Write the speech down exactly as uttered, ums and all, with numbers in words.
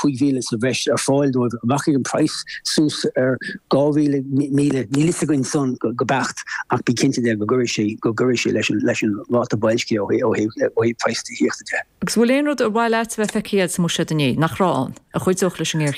cúig mhíle sa bhreis ar fáil dóibh rachaidh an praghas suas ar dhá mhíle míle níl a fhios againn san go go beacht ach bí cinnte de go gcuirfidh sé go gcuirfidh sé leis an leis an ráta boilscithe ó ó ó thaobh praghas tithíochta de. Agus bhfuil aon rud ar mhaith leat bheith feicthe sa mbuiséad inné nach raibh ann a chuideodh leis an ngéarchéim.